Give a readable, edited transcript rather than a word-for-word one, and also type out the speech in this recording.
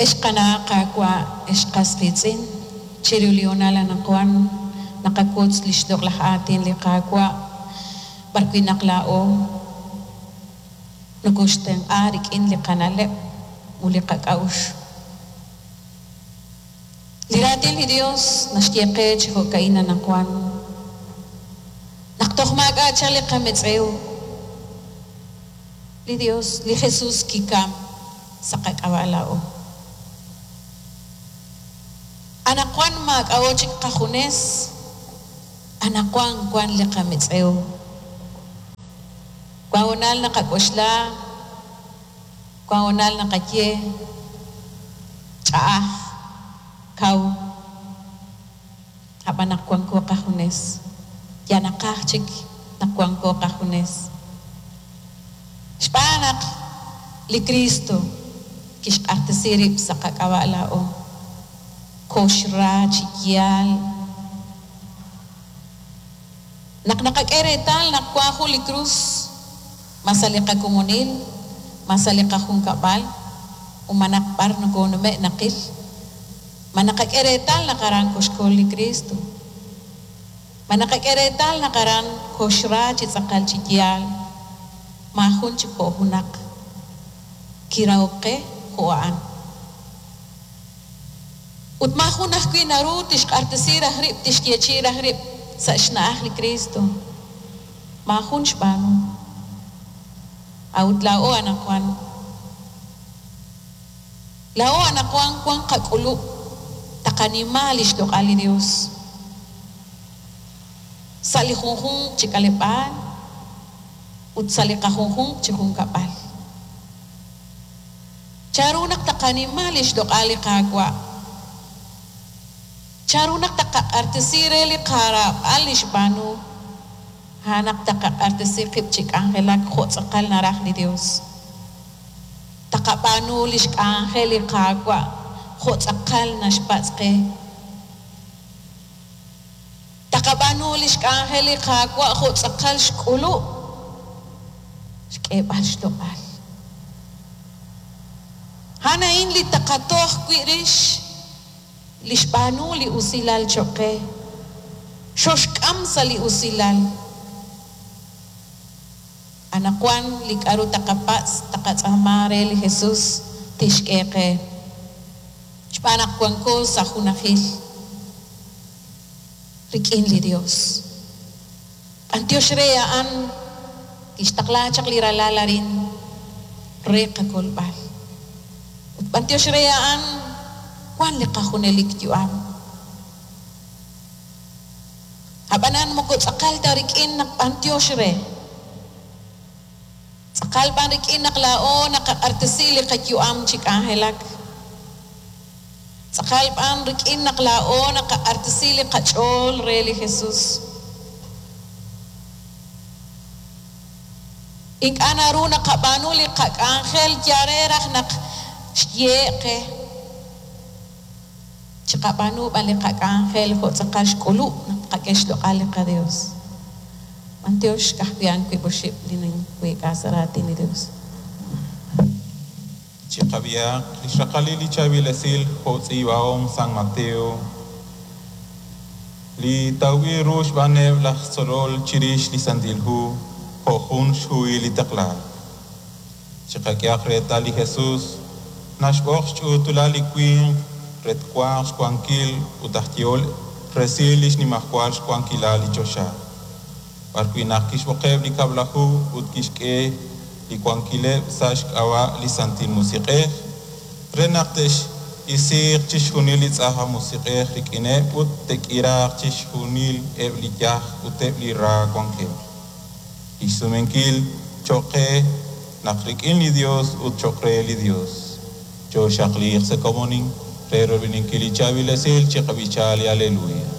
Ex qana' qaawa', ex qas qiitz'in, chiru li hoonal anaqwan naqawotz lix loq'laj aatin li Qaawa' b'ar wi' naq laa'o nokoxtenq'a rik'in li qana'leb' ut li qak'a'uxl. Li Raatin li Dios naxye qe chi jo'ka'in anaqwan, Naq toj maak'a' chaq li qametz'ew, li Dios, li Jesus kikam sa' qak'ab'a' laa'o. Anaqwan maak'a'o chik qajunes, anaqwan wan li qametz'ew. Wan hoonal naqak'oxla, wan hoonal naqaye, Ch'a'aj, kaw, a'b'an naq wanko qajunes, yal naqaj chik naq wanko qajunes. Xb'aan naq li Kristo kixq'axtesi rib' sa' qak'ab'a' laa'o, kooxra chi yaal. Naq naqak'e reetal naq wan jun li krus, ma sa' li qakomonil, ma sa' li qajunkab'al, ut ma naq b'ar nokonume' naqil, ma naqak'e reetal naq aran koxkol li Kristo? Ma naqak'e reetal naq aran koxra chi tz'aqal chi yaal? Maajun chik jo' junaq kirahok qe jo' a'an. Ut maajun ajwi' naru tixq'axtesi raj rib' tixyeechi'i raj rib' sa' xna'aj li Kristo. Maajun xb'aanu. A'ut laa'o anaqwan. Laa'o anaqwan wan qak'ulub' taqanima lix loq'al li Dios sa' li junjunq chi k'aleb'aal ut sa' li qajunjunq chi junkab'al. Chanru naq taqanima lix loq'al li Qaawa'? Chanru naq taqaq'artesi re li qaraab'al li xb'aanu? A'an naq taqaq'artesi qib' chi k'anjelak jo' tz'aqal naraj li Dios. Taqab'aanu lix k'anjel li Qaawa' jo' tz'aqal naxpatz' qe. Taqab'aanu lix k'anjel li Qaawa' jo' tz'aqal xk'ulub' xk'eeb'al xloq'al. A'an a'in li taqatoj wi' rix li xb'aanu li usilal choq' qe. Xoxk'am sa' li usilal. Anaqwan li k'a'ru taqapatz' taqatz'aama re li Jesus tixk'e qe. Xb'aan naq wanko sa' junajil rik'in li Dios. B'antiox re a'an kixtaqla chaq li Ralal arin re qakolb'al. Ut b'antiox re a'an wan li qajunelik yu'am. A'b'anan moko tz'aqal ta rik'in naq b'antiox re. Tz'aqal b'an rik'in naq laa'o naqaq'artesi li qayu'am chi k'anjelak. Tz'aqal b'an rik'in naq laa'o naqaq'artesi li qach'ool re li Jesus. Ink'a' naru naqab'aanu li qak'anjel yal re raj naq xyehe' qe. Chiqab'aanu b'an li qak'anjel jo' tz'aqal xk'ulub' naq tqak'e xloq'al li qaDios. B'antiox ka'ajwi' a'an wiib' oxib' li ninweek'a sa' raatin li Dios. Chiqab'ihaq li xraqalil li chaab'il esil jo' tz'iib'ahom San Mateo, li tawb'il ru xb'aaneb' laj tzolol chirix li Santil Hu jo' jun xhuhil li taqlaak. Chiqak'ehaq reetal li Jesus naxb'oq xch'uutulal li winq re twanq xwankil ut aj yehol resil li xnimajwal xwankilal li choxa, b'arwi' naq kixb'oqeb' li Kab'laju ut kixk'e li wankileb' sa' xk'ab'a' li Santil Musiq'ej re naq te'x'isiiq chixjunil li tz'aj aj musiq'ej rik'ineb' ut te'k'iraaq chixjunil eb' li yaj ut eb' li ra wankeb'. Lix sumenkil choq' qe naq rik'in li Dios ut choq' re li Dios. Chooxaqliiq sa' komonil re royb'eninkil li chaab'il esil chiqab'icha li Aleluya.